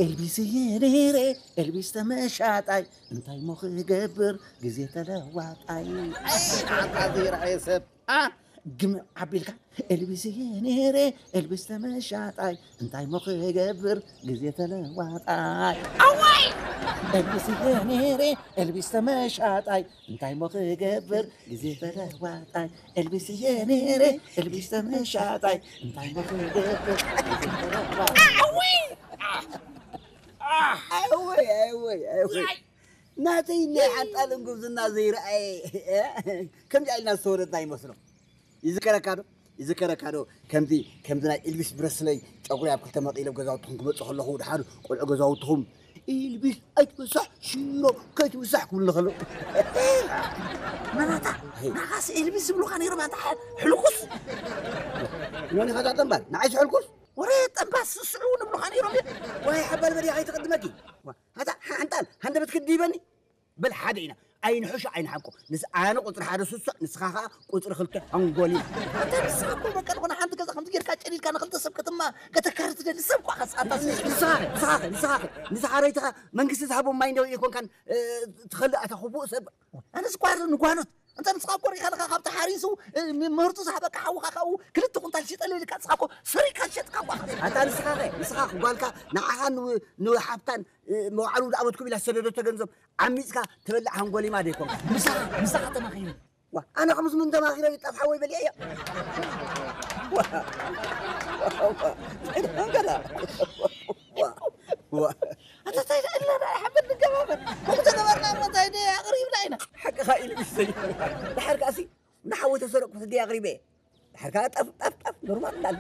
ኤልቢስ እየ ነይረ፣ ኤልቢስ ተመሻጣይ፣ እንታይ ሞ ክገብር ግዜ ተለዋጣይ። ኣይ ንዓኻ ዘይረኣየ ሰብ፣ ኣ፣ ግምዕ ኣቢልካ፣ ኤልቢስ እየ ነይረ፣ ኤልቢስ ተመሻጣይ፣ እንታይ ሞ ክገብር ግዜ ተለዋጣይ። ኣዋይ! ኤልቢስ እየ ነይረ፣ ኤልቢስ ተመሻጣይ፣ እንታይ ሞ ክገብር ግዜ ተለዋጣይ። ኤልቢስ እየ ነይረ፣ ኤልቢስ ተመሻጣይ፣ እንታይ ሞ ክገብር ግዜ ተለዋጣይ። ኣውይ! ኣወይ ኣወይ ኣወይ፣ ናተይ ናይ ሓንጣልን ጉብዝና ዘይረኣየ፣ ከምዚ ኢልና ዝተወለድና ይመስሎ። ይዝከረካ ዶ? ይዝከረካ ዶ? ከምዚ ከምዚ ናይ ኢልቪስ ብረስለይ ጨጉሪ ኣብ ክልተ መቒሎም ገዛውትኹም ክመፁ ከለኹ፣ ድሓር ቆልዑ ገዛውትኹም፣ ኢልቪስ ኣይትበሳሕ ሽሮ ከይትበሳሕ ክብሉ ከለዉ። መናታ፣ ሄይ። ንዓኻስ ኤልቪስ ዝብሉኻ ነይሮም ኣንታ፣ ሕልኩስ። መን ኢኻ እዛ ጠንባል? ንዓይስ ሕልኩስ? ወረ ጠንባል ስስዑ ንብሉኻ ነይሮም እዮም። ወይ ሓባል በዲኻ ኣይትቕድመኪ። ዋ፣ ኣታ ሓንጣል፣ ሃንደበት ክድይበኒ? በል ሓደ ኢና። ኣይንሕሾ ኣይንሓቆ። ንስ-፣ ኣነ ቁፅሪ ሓደ ስሱዕ፣ ንስኻ ኸዓ ቁፅሪ ክልተ ሓንጎሊ። ኣታ ንስኻ እኮ በቃ ዝኾነ ሓንቲ ገዛ ከምዚ ጌርካ ጨዲድካ ንኽልተ ሰብ ከተማ ከተካሪ ትደሊ ሰብ እኳ ኸስ ኣታ ስ-፣ ንስኻ ኸ፣ ንስኻ ኸ፣ ንስኻ ኸ፣ ንስኻ ረይትኻ መንግስቲ ዝሃቦም ማይ እንደው ኣይኮንካን፣ እ፣ ትኸልእ ኣታ ክፉእ ሰብ። ኣነስ እኳ ንጓኖት። እንተ ንስኻ እኮ ሪኢኻ ኣለኻ፣ ካብ ተሓሪሱ፣ እ፣ ም-፣ ምህርቱ ዝሃበካ ሓውኻ ካብኡ ክልተ ኩንታል ሽጠለይ ኢልካ፣ ንስኻ እኮ ሰሪካ ዝሸጥካ እኳ ኸስ። ኣታ ንስኻ ኸ፣ ንስኻ ጓልካ ንዓኻ ን-፣ ንሓብታን፣ እ፣ መውዓሉ ዝኣበትኩም ኢላ ዝሰደደቶ ገንዘብ ዓሚጽካ ትበልዕ ሃንጎሊማ ዶ ይኮንካ? ምሳኻ፣ ምሳኻ ተማኺረ። ዋ፣ ኣነ ከምዚ ምን ተማኺረ ይጠፍሓ ወይ በሊዐዮ? ዋ፣ ዋ፣ ዋ፣ ዋ፣ ዋ። ኣታ እንታይ ደኣ ኢልና ደኣ ሓበን ንገባበር? ከምኡ ተገበርና እሞ እንታይ ደኣ ኣቕሪብና ኢና? ሓቅኻ ኢሉ ይሰይ። ድሓር ከኣሲ ንሓወይ ተሰረቅኩ ህገይ ኣቕሪበ። ድሓር ከኣ ጠፍ፣ ጠፍ፣ ጠፍ፣ ኖርማል እንዳለ።